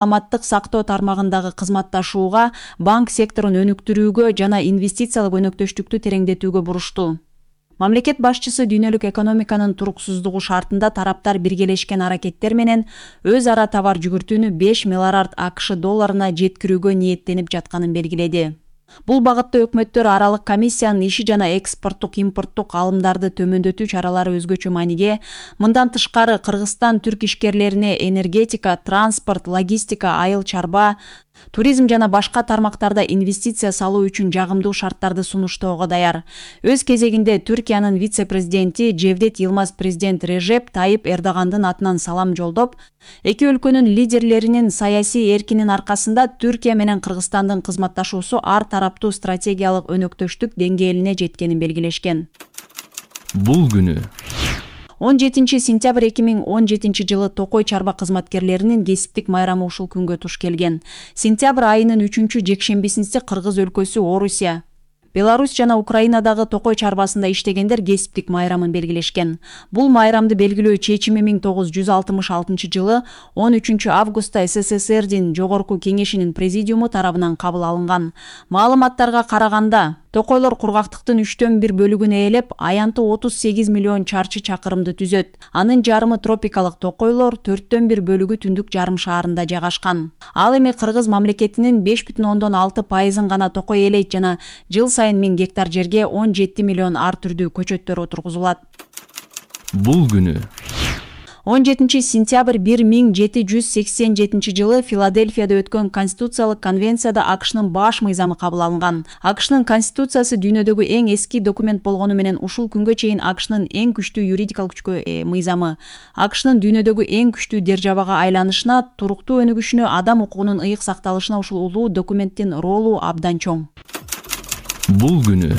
Саламаттык сактоо тармагындагы кызматташууга, банк секторун өнүктүрүүгө жана инвестициялык өнөктөштүктү тереңдетүүгө бурушту. Мамлекет башчысы дүйнөлүк экономиканын туруксуздугу шартында тараптар биргелешкен аракеттер менен өз ара товар жүгүртүүнү 5 миллиард АКШ долларына жеткирүүгө ниеттенип жатканын белгиледи. Бул багытта өкмөттөр аралык комиссиянын иши жана экспорттук импорттук алымдарды төмөндөтүү чаралары өзгөчө мааниге. Мындан тышкары Кыргызстан түрк ишкерлерине энергетика, транспорт, логистика, айыл чарба, туризм жана башка тармактарда инвестиция салуу үчүн жагымдуу шарттарды сунуштоого даяр. Өз кезегинде Түркиянын вице-президенти Жевдет Йылмаз президент Режеп Тайып Эрдогандын атынан салам жолдоп, эки өлкөнүн лидерлеринин саясий эркинин аркасында Түркия менен Кыргызстандын кызматташуусу ар тараптуу стратегиялык өнөктөштүк деңгээлине жеткенин белгилешкен. Бул күнү 17 сентябрь 2017 жылы Токой чарба кызматкерлеринин кесиптик майрамы ушул күнгө туш келген. Сентябрь айынын 3 жекшембисинде Кыргыз өлкөсү, Орусия, Беларусь жана Украинадагы Токой чарбасында иштегендер кесиптик майрамын белгилешкен. Бул майрамды белгилөө чечими 1966 жылы 13 августта СССРдин Жогорку кеңешинин президиуму тарабынан кабыл алынган. Маалыматтарга караганда, Токойлор кургактыктын 1/3 бөлүгүн ээлеп, аянты 38 миллион чарчы чакырымды түзөт. Анын жарымы тропикалык Токойлор, 4/1 бөлүгү түндүк жарым шаарында жайгашкан. Ал эми Кыргыз мамлекетинин 5,6% гана Токой ээлейт жана жыл сайын 1000 гектар жерге 17 миллион ар түрдүү көчөттөр отургузулат. Бул күнү 17 сентябрь 1787 жылы Филадельфияда өткөн Конституциялык конвенцияда АКШнын баш мыйзамы кабыл алынган. АКШнын конституциясы дүйнөдөгү эң эски документ болгону менен ушул күнгө чейин АКШнын эң күчтүү юридикалык күчкө мыйзамы. АКШнын дүйнөдөгү эң күчтүү державага айланышына, туруктуу өнүгүшүнө, адам укугунун ыйык сакталышына ушул улуу документтин ролу абдан чоң. Бул күнү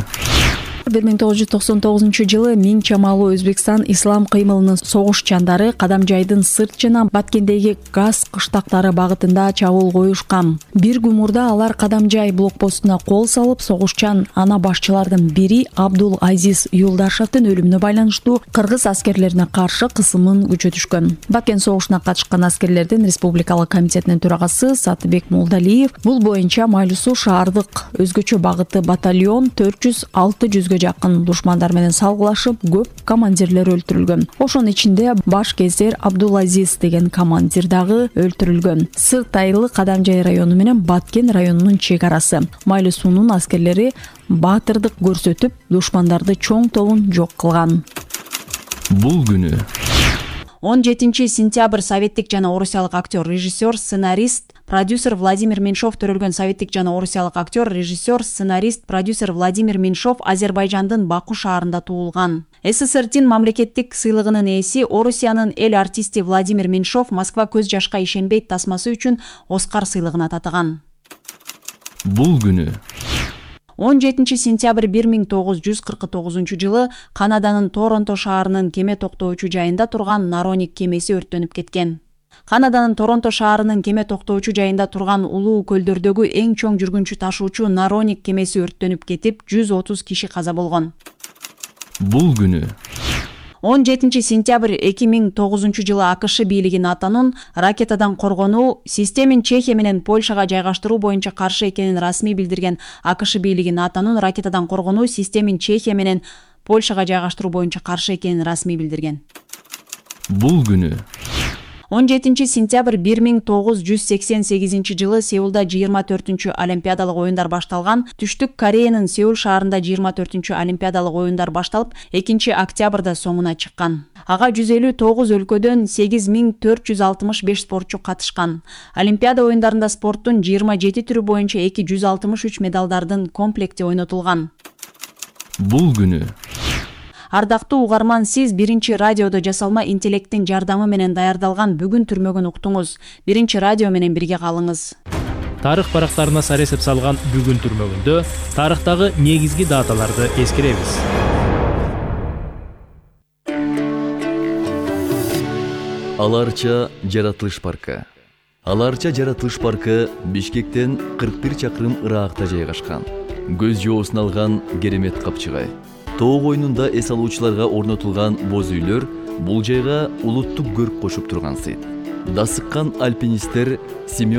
1999 жылы миң чамалуу Өзбекстан ислам кыймылынын согушчандары Кадамжайдын сырт жана баткендеги газ кыштактары багытында чабуул коюшкан. Бир күн мурда алар Кадамжай блокпостуна кол салып, согушчан ана башчылардын бири Абдул Азиз Юлдашевдин өлүмүнө байланыштуу кыргыз аскерлерине каршы кысымын күчөтүшкөн. Баткен согушуна катышкан аскерлердин Республикалык комитетинин төрагасы Сатыбек Молдалиев бул боюнча Майлуу шаардык өзгөчө багыты батальон 400-600 жакын душмандар менен салгылашып, көп командирлер өлтүрүлгөн. Ошонун ичинде баш кезер Абдулазиз деген командир дагы өлтүрүлгөн. Сырт айылы Кадамжай району менен Баткен районунун чек арасы. Майлуу суунун аскерлери баатырдык көрсөтүп, душмандарды чоң тобун жок кылган. Бул күнү 17 сентябрь советтик жана орусиялык актер, режиссер, сценарист, продюсер Владимир Меньшов төрөлгөн советтик жана орусиялык актер, режиссер, сценарист, продюсер Владимир Меньшов Азербайжандын Баку шаарында туулган. СССРдин мамлекеттик сыйлыгынын ээси, Орусиянын эл артисти Владимир Меньшов Москва көз жашка ишенбейт тасмасы үчүн Оскар сыйлыгына татыган. Бул күнү 17 сентябрь 1949 жылы Канаданын Торонто шаарынын кеме токтоочу жайында турган Нароник кемеси өрттөнүп кеткен. Канаданын Торонто шаарынын кеме токтоочу жайында турган улуу көлдөрдөгү эң чоң жүргүнчү ташуучу Нароник кемеси өрттөнүп кетип, 130 киши каза болгон. Бул күнү 17 сентябрь 2009 жылы АКШ бийлигин атанын ракетадан коргонуу, системин Чехия менен Польшага жайгаштыруу боюнча каршы экенин расмий билдирген АКШ бийлигин атанын ракетадан коргонуу, системин Чехия менен Польшага жайгаштыруу боюнча каршы экенин расмий билдирген. Бул күнү 17 сентябрь 1988 жылы Сеулда 24 Олимпиадалык оюндар башталган. Түштүк Кореянын Сеул шаарында 24 Олимпиадалык оюндар башталып, 2 октябрда соңуна чыккан. Ага 159 өлкөдөн 8465 спортчу катышкан. Олимпиада оюндарында спорттун 27 түрү боюнча 263 медалдардын комплекти ойнотулган. Бул күнү Ардактуу угарман, сиз биринчи радиодо жасалма интеллекттин жардамы менен даярдалган бүгүн түрмөгүн уктуңуз. Биринчи радио менен бирге калыңыз. Тарых барактарына сар эсеп салган бүгүн түрмөгүндө тарыхтагы негизги даталарды эскеребиз. Аларча жаратылыш паркы. Аларча жаратылыш паркы Бишкектен 41 чакырым ыракта жайгашкан. Көз жоосун алган керемет капчыгай. Тоо койнунда эс алуучуларга орнотулган боз үйлөр бул жайга улуттук көрк кошуп турган сыйт. дасыккан альпинисттер